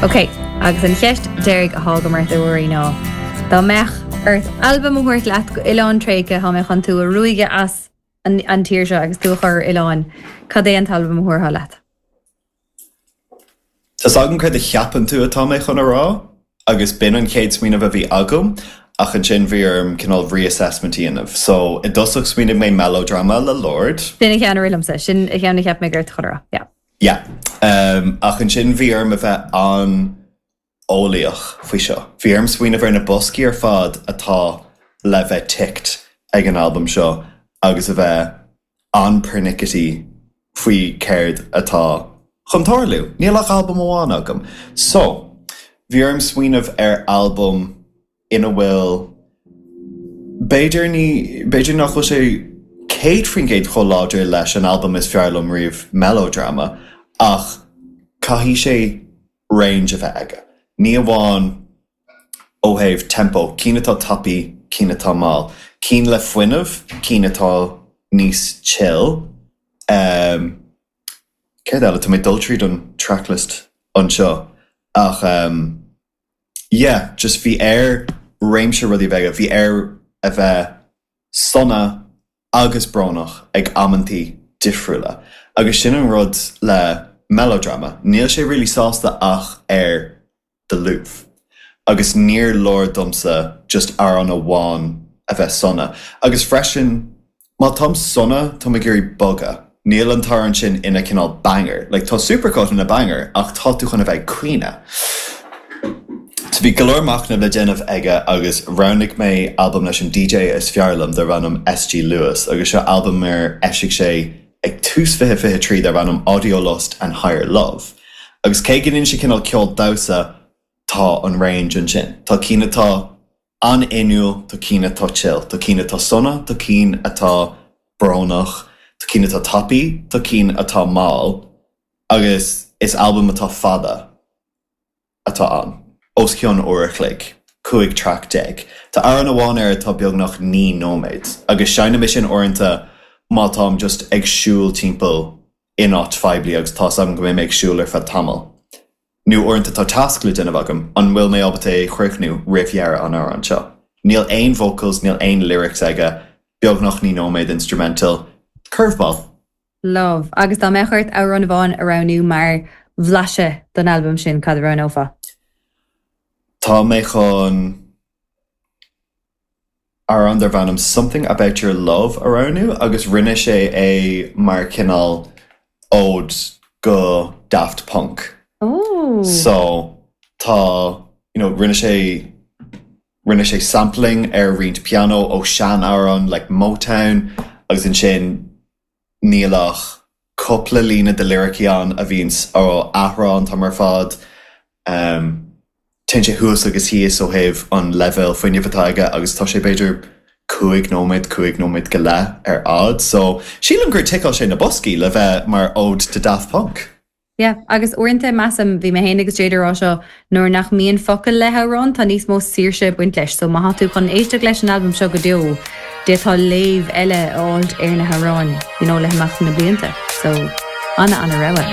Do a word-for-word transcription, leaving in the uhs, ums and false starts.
Ok, agus an cheist deiridh atá agam ort, a Ruairí, ná. Dá mbeadh ort albam a thabhairt leat go oileán tréigthe, tá mé chun tú a ruaigeadh as an, an tír seo agus tú a chur ar oileán, cad é an t-albam a thabharfá leat? Tá agam cad a cheapann tú atá mé chun a rá, agus b'in an chéad smaoineamh a bhí agam, ach ansin bhí orm cineál reassessment a dhéanamh. So i dtosach smaoinigh mé Melodrama le Lorde. Sin an ceann a rith liomsa, sin an ceann a cheap mé gur chun a rá. Yeah. Yeah. Um, ach ansin bhí orm a bheith an-eolaíoch faoi seo. Bhí orm smaoineamh ar na boscaí ar fad atá le bheith ticked ag an albam seo agus a bheith an-pernickety faoi céard atá chun tarlú. Níl ach albam amháin agam. So, bhí orm smaoineamh ar albam ina bhfuil b'fhéidir ní b'fhéidir nach bhfuil sé céad faoin gcéad chomh láidir leis an albam is fearr liom riamh, Melodrama, ach caithfidh sé range a bheith aige. Ní amháin ó thaobh tempo, cinn atá tapaidh, cinn atá mall, cinn le fuinneamh, cinn atá níos chill. Um, Céard eile? Tá mé dul tríd an tracklist anseo ach um, yeah, just bhí air réimse rudaí bheith, bhí air a bheith sona agus brónach ag amantaí difriúla. Agus sin an rud le Melodrama. Níl sé really sásta ach ar the Louvre. Agus níor leor domsa just amhrán amháin a bheith sona. Agus freisin, má táim sona, tá ag iarraidh bogadh. Níl an t-amhrán sin ina cineál banger. Like, tá Supercut ina banger ach tá tú chun a bheith caoineadh. So bhí go leor machnamh le déanamh aige agus roghnaigh mé albam leis an D J is fearr liom darb ainm S G Lewis, agus seo albam ar eisigh sé ag tús fiche fiche trí darb ainm Audio Lust and Higher Love. Agus cé go ndéanann sé cineál ceol damhsa, tá an range ansin. Tá cinn atá an-fhuinniúil, tá cinn atá chill, tá cinn atá sona, tá cinn atá brónach, tá cinn atá tapaidh, tá cinn atá mall, agus is albam atá fada atá ann. Os cionn uair a chloig, cúig track déag. Tá amhrán amháin air atá beagnach naoi nóiméad, agus seinnim é sin uaireanta má táim just ag siúl timpeall in áit phoiblí agus tá agam go mbeidh mé ag siúl ar feadh tamall. Nó uaireanta tá tasc le déanamh agam, an bhfuil mé ábalta é a chríochnú roimh dheireadh an amhrán seo. Níl aon vocals, níl aon lyrics aige, beagnach naoi nóiméad instrumental, curveball. Love. Agus dá mbeadh ort amhrán amháin a roghnú mar bhlaiseadh don albam sin, cad a roghnófá? Tá mé chun amhrán darb ainm Something About Your Love a roghnú, agus rinne sé é mar cineál ode go Daft Punk. Oh. So tá you know, rinne sé rinne sé sampling ar roinnt piano ó sean-amhrán like Motown, agus ansin níl ach cúpla líne de lyricí ann a bhíonn á athrá an t-am ar fad. Um, Téann sé thuas agus thíos ó thaobh an leibhéal fuinnimh atá aige, agus tá sé b'fhéidir cúig nóiméad, cúig nóiméad go leith ar fhad, so sílim gur ticeáil sé na boscaí le bheith mar ode to Daft Punk. Yeah, agus uaireanta measaim, bhí mé féin agus Jade rá seo, nuair nach mbíonn focail le hamhrán, tá níos mó saoirse ag baint leis, so má tá tú chun éisteacht leis an albam seo go deo, d'fhéadfá léamh eile a fháil ar na hamhráin you know, le himeacht na blianta, so ana ana rogha.